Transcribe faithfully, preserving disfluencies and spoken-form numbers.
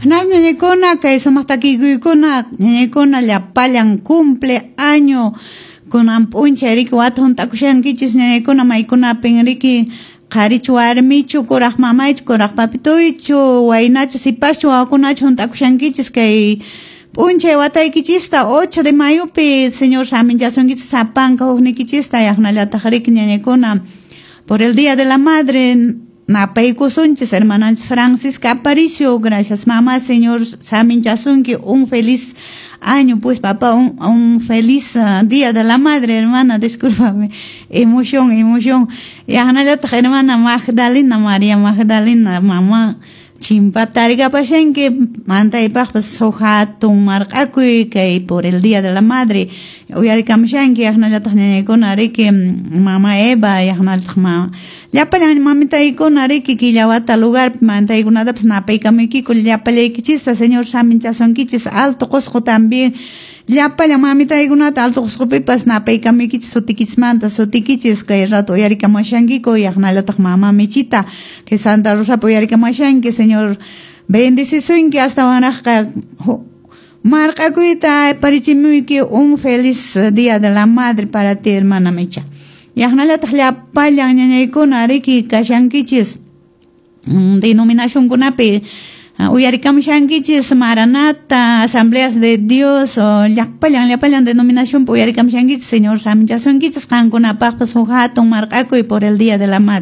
Ñañaykuna kay sumaq takikuykuna ñañaykuna llapallan cumple año kunan p'unchay riki wata hunt'akushankichis ñañaykuna maykunapin riki qharichu warmichu kuraq mamaychu kuraq papituychu waynachu sipaschu wawakunachu hunt'akushankichis kay p'unchay wataykichista ocho de mayopi Señor saminchasunkichis sapanka huknikichista yaqnallataq riki ñañaykuna por el Día de la Madre napaykusunchis hermananchis Francisca Aparicio, gracias mamá, Señor saminchasunki un feliz año, pues papá, un, un feliz uh, Día de la Madre, hermana, discúlpame, emoción, emoción. Yaqnallataq hermana Magdalena, María Magdalena, mamá, chimpatarikapashanki mantaypaqpas huk hatun marq'akuy kay por el Día de la Madre uyarikamushanki yaqnallataq ñañaykuna riki mama Eva yaqnallataq ma llapallan mamitaykuna riki killawata lugarpi mantaykunatapas napaykamuykiku llapallaykichista Señor saminchasunkichis Alto Qusqu también llapallan mamitaykunata Alto Qusqupipas napaykamuykichis sutikichismanta sutikichis kay rato uyarikamushankiku yaqnallataq mama Michita que Santa Rosapi uyarikamushanki Señor bendecisunki astawanraqqa marq'akuyta parichimuyki un feliz Día de la Madre para ti hermana Micha yaqnallataq llapallan ñañaykuna riki kashankichis denominacionkunapi uyarikamushankichis Maranata, Asambleas de Dios, llapallan llapallan denominación uyarikamushankichis Señor saminchasunkichis qankunapaqpas huk hatun marq'akuy por el Día de la Madre.